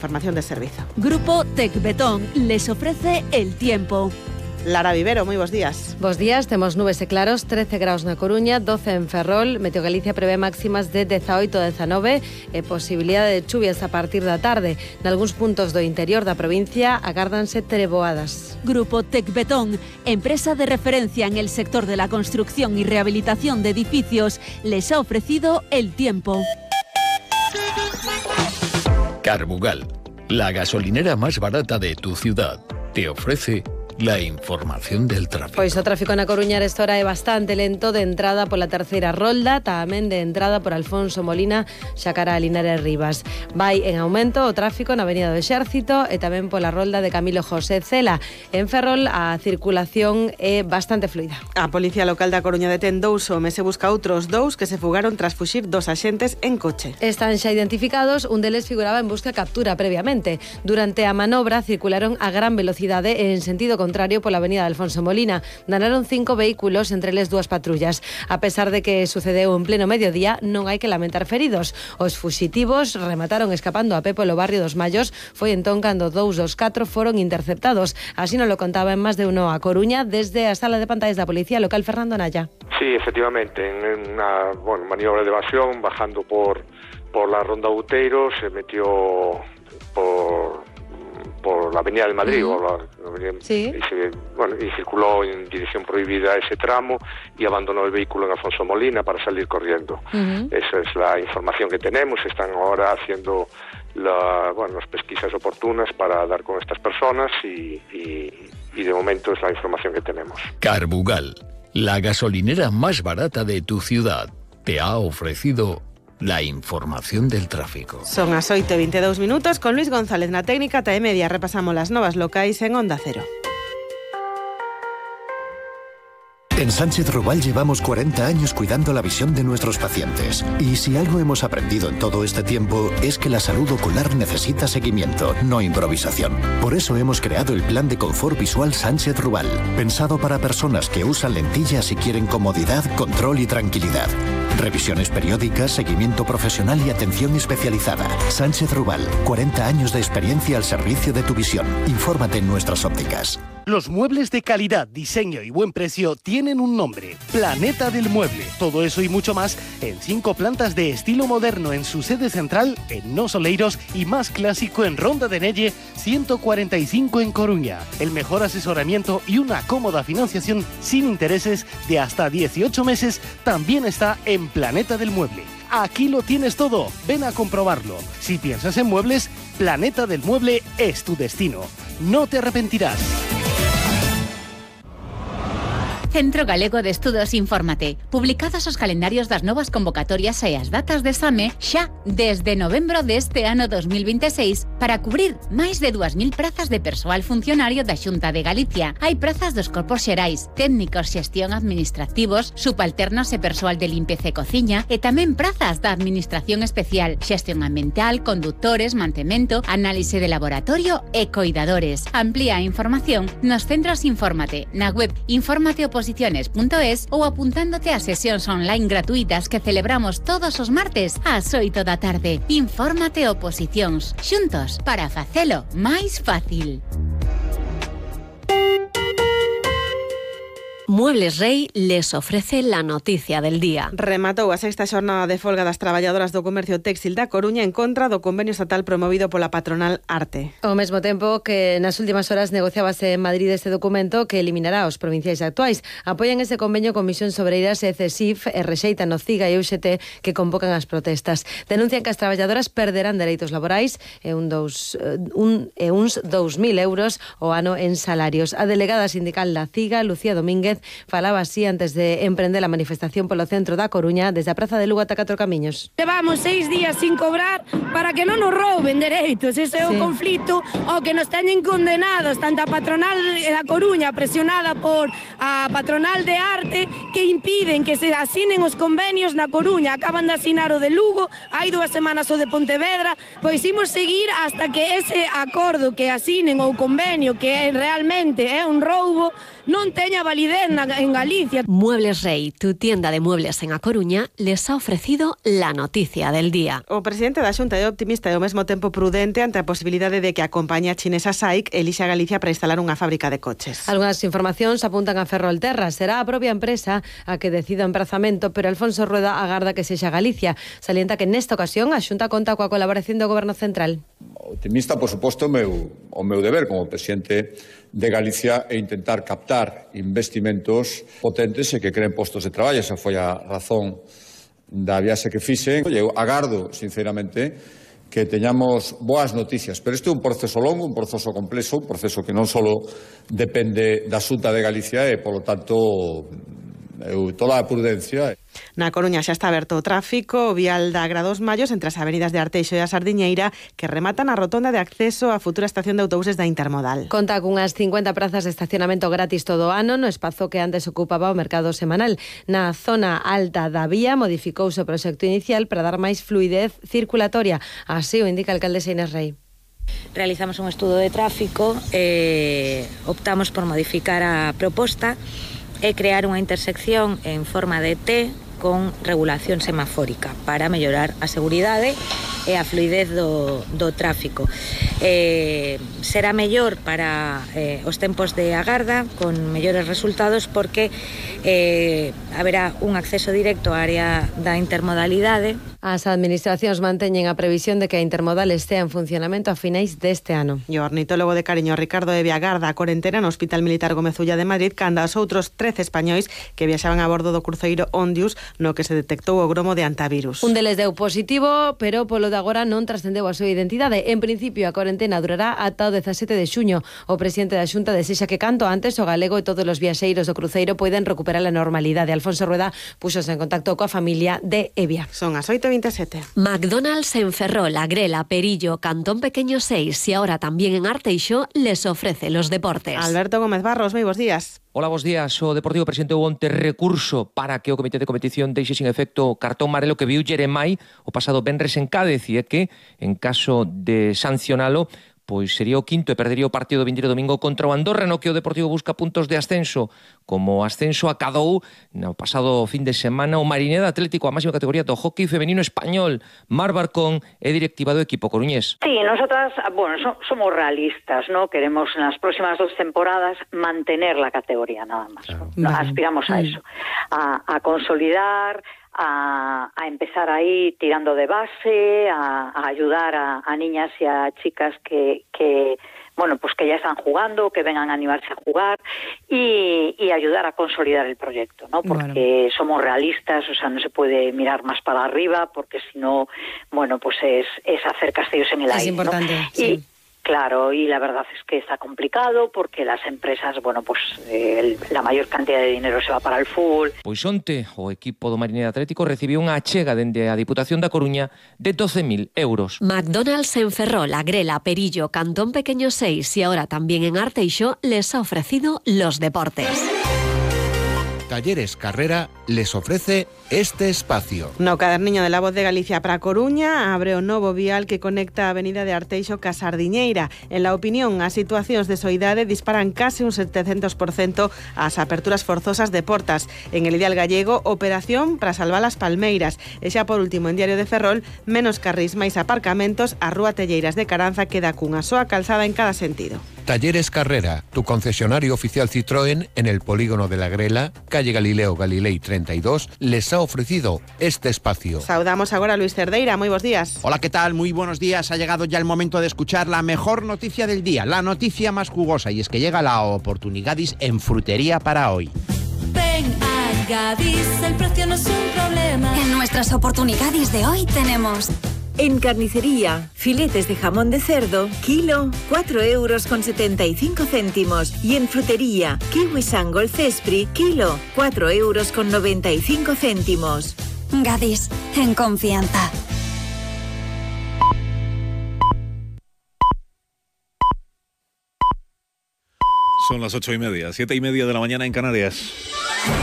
Información de servicio. Grupo Tecbetón les ofrece el tiempo. Lara Vivero, moi bons días. Bos días, temos nubes e claros, 13 graus na Coruña, 12 en Ferrol. Meteo Galicia prevé máximas de 18 e 19 e posibilidade de chuvias a partir da tarde. Nalgúns puntos do interior da provincia agárdanse treboadas. Grupo Tecbetón, empresa de referencia en el sector de la construcción y rehabilitación de edificios, les ha ofrecido el tiempo. Carbugal, la gasolinera más barata de tu ciudad, te ofrece la información del tráfico. Pois o tráfico na Coruña esta hora é bastante lento, de entrada pola terceira rolda, tamén de entrada por Alfonso Molina, xa cara a Linares Rivas. Vai en aumento o tráfico na Avenida do Exército e tamén pola rolda de Camilo José Cela. En Ferrol a circulación é bastante fluida. A Policía Local da Coruña detén 2 homes e busca outros 2 que se fugaron tras fuxir 2 axentes en coche. Están xa identificados, un deles figuraba en busca e captura previamente. Durante a manobra circularon a gran velocidade en sentido contrario pola avenida de Alfonso Molina. Danaron 5 vehículos, entre eles 2 patrullas. A pesar de que sucedeu en pleno mediodía, non hai que lamentar feridos. Os fuxitivos remataron escapando a pé polo barrio dos Mallos. Foi entón cando 2 dos 4 foron interceptados. Así nos lo contaba en Más de Uno a Coruña desde a sala de pantallas da Policía Local Fernando Naya. Sí, efectivamente, en una maniobra de evasión, bajando por la Ronda Outeiro, se metió por la Avenida del Madrid, sí. y circuló en dirección prohibida ese tramo y abandonó el vehículo en Alfonso Molina para salir corriendo. Esa es la información que tenemos. Están ahora haciendo las pesquisas oportunas para dar con estas personas y de momento es la información que tenemos. Carbugal, la gasolinera más barata de tu ciudad, te ha ofrecido la información del tráfico. Son as 8:22 minutos con Luis González na técnica. Ata e media repasamos las novas locais en Onda Cero. En Sánchez Rubal llevamos 40 años cuidando la visión de nuestros pacientes. Y si algo hemos aprendido en todo este tiempo es que la salud ocular necesita seguimiento, no improvisación. Por eso hemos creado el Plan de Confort Visual Sánchez Rubal, pensado para personas que usan lentillas y quieren comodidad, control y tranquilidad. Revisiones periódicas, seguimiento profesional y atención especializada. Sánchez Rubal, 40 años de experiencia al servicio de tu visión. Infórmate en nuestras ópticas. Los muebles de calidad, diseño y buen precio tienen un nombre: Planeta del Mueble. Todo eso y mucho más en 5 plantas de estilo moderno en su sede central en Nos Oleiros y más clásico en Ronda de Nelle 145 en Coruña. El mejor asesoramiento y una cómoda financiación sin intereses de hasta 18 meses también está en Planeta del Mueble. Aquí lo tienes todo, ven a comprobarlo. Si piensas en muebles, Planeta del Mueble es tu destino. No te arrepentirás. Centro Galego de Estudos Infórmate. Publicados os calendarios das novas convocatorias e as datas de exame xa desde novembro deste ano 2026 para cubrir máis de 2.000 prazas de persoal funcionario da Xunta de Galicia. Hai prazas dos corpos xerais, técnicos, xestión administrativos, subalternos e persoal de limpeza e cociña e tamén prazas da Administración Especial, xestión ambiental, conductores, mantemento, análise de laboratorio e coidadores. Amplía a información nos centros Infórmate, na web informateoposiciones.es ou apuntándote a sesións online gratuitas que celebramos todos os martes ás 8 da tarde. Infórmate Oposicións, xuntos para facelo máis fácil. Muebles Rey les ofrece la noticia del día. Rematou a 6ª xornada de folga das traballadoras do comercio téxtil da Coruña en contra do convenio estatal promovido pola patronal Arte. Ao mesmo tempo que nas últimas horas negociábase en Madrid este documento que eliminará os provinciais actuais. Apoian ese convenio Comisión Sobreiras e CESIF e rexeitan o CIGA e UXT que convocan as protestas. Denuncian que as traballadoras perderán dereitos laborais e uns 2.000 euros o ano en salarios. A delegada sindical da CIGA, Lucía Domínguez, falaba así antes de emprender la manifestación polo centro da Coruña desde a Praza de Lugo ata Catro Camiños. Levamos 6 días sin cobrar para que non nos rouben dereitos. Ese é o conflito ao que nos teñen condenados tanto a patronal da Coruña presionada por a patronal de Arte que impiden que se asinen os convenios na Coruña. Acaban de asinar o de Lugo, hai 2 semanas o de Pontevedra, pois imos seguir hasta que ese acordo que asinen ou convenio que realmente é un roubo non teña validez en Galicia. Muebles Rey, tu tienda de muebles en A Coruña, les ha ofrecido la noticia del día. O presidente da Xunta é optimista e ao mesmo tempo prudente ante a posibilidade de que a compañía chinesa SAIC elixe a Galicia para instalar unha fábrica de coches. Algunhas informacións apuntan a Ferrolterra. Será a propia empresa a que decida o emprazamento, pero Alfonso Rueda agarda que sexa Galicia. Salienta que nesta ocasión a Xunta conta coa colaboración do Goberno Central. Optimista, por suposto, o meu deber como presidente de Galicia é intentar captar investimentos potentes e que creen postos de traballo. Esa foi a razón da viaxe que fixen. Eu agardo, sinceramente, que teñamos boas noticias. Pero este é un proceso longo, un proceso complexo, un proceso que non só depende da Xunta de Galicia e, polo tanto, toda a prudencia. Na Coruña xa está aberto o tráfico, o vial da Gra dos Mallos entre as avenidas de Arteixo e a Sardiñeira, que rematan a rotonda de acceso á futura estación de autobuses da Intermodal. Conta cunhas 50 prazas de estacionamento gratis todo o ano no espazo que antes ocupaba o mercado semanal. Na zona alta da vía modificouse o proxecto inicial para dar máis fluidez circulatoria. Así o indica a alcaldesa Inés Rei. Realizamos un estudo de tráfico, optamos por modificar a proposta e crear unha intersección en forma de T con regulación semafórica para mellorar a seguridade e a fluidez do tráfico. Será mellor para os tempos de agarda, con mellores resultados, porque haberá un acceso directo á área da intermodalidade. As administracións manteñen a previsión de que a intermodal estea en funcionamento a finais deste ano. E o ornitólogo de Cariño, Ricardo Evia, agarda a corentena no Hospital Militar Gómez Ulla de Madrid canda os outros 13 españois que viaxaban a bordo do cruceiro Ondius, no que se detectou o gromo de antivirus. Un deles deu positivo, pero polo de agora non trascendeu a súa identidade. En principio, a corentena durará ata o 17 de xuño. O presidente da Xunta desexa que canto antes o galego e todos os viaxeiros do cruceiro poidan recuperar a normalidade. Alfonso Rueda puxose en contacto coa familia de Evia. Son as 8:27. McDonald's en Ferrol, Agrela, Perillo, Cantón Pequeño 6 y ahora también en Arteixo les ofrece los deportes. Alberto Gómez Barros, moi bos días. Hola, bos días. O Deportivo presentou onte recurso para que o Comité de Competición deixe sin efecto o cartón amarelo que viu Jeremai o pasado venres en Cádiz, e que, en caso de sancionalo, pois sería o quinto e perdería o partido do vindeiro domingo contra o Andorra, no que o Deportivo busca puntos de ascenso. Como ascenso acadou no pasado fin de semana o Marineda Atlético, a máxima categoría do hockey femenino español. Mar Barcón é directiva do equipo coruñés. Sí, nosotras, somos realistas, ¿no? Queremos en las próximas 2 temporadas mantener la categoría nada más. ¿No? Aspiramos a eso, a consolidar, a empezar ahí tirando de base, a ayudar a niñas y a chicas que ya están jugando, que vengan a animarse a jugar y ayudar a consolidar el proyecto, ¿no? Porque somos realistas, o sea, no se puede mirar más para arriba, porque si no, es hacer castillos en el aire. Es importante, ¿no? sí. Claro, y la verdad es que está complicado porque las empresas, la mayor cantidad de dinero se va para el fútbol. Pois onte o equipo do Marineda Atlético recibiu unha achega dende a Diputación da Coruña de 12.000 euros. McDonald's en Ferrol, Agrela, Perillo, Cantón Pequeño 6 y ahora también en Arteixo les ha ofrecido los deportes. Talleres Carrera les ofrece este espacio. No caderniño de La Voz de Galicia para Coruña abre o novo vial que conecta a avenida de Arteixo ca Sardiñeira. En la opinión, as situacións de soidade disparan case un 700% as aperturas forzosas de portas. En el ideal gallego, operación para salvar as palmeiras. E xa por último, en Diario de Ferrol, menos carrís máis aparcamentos, a Rúa Telleiras de Caranza queda cunha soa calzada en cada sentido. Talleres Carrera, tu concesionario oficial Citroën en el polígono de la Grela, calle Galileo Galilei 32, les ha ofrecido este espacio. Saudamos agora a Luis Cerdeira, moi bos días. Hola, ¿qué tal? Muy buenos días. Ha llegado ya el momento de escuchar la mejor noticia del día, la noticia más jugosa, y es que llega la oportunidadis en frutería para hoy. Ven a Gadis, el precio no es un problema. En nuestras oportunidades de hoy tenemos... En carnicería, filetes de jamón de cerdo, kilo, 4,75 €. Y en frutería, kiwi Sangol Cespri, kilo, 4,95 €. Gadis, en confianza. Son las 8:30, 7:30 de la mañana en Canarias.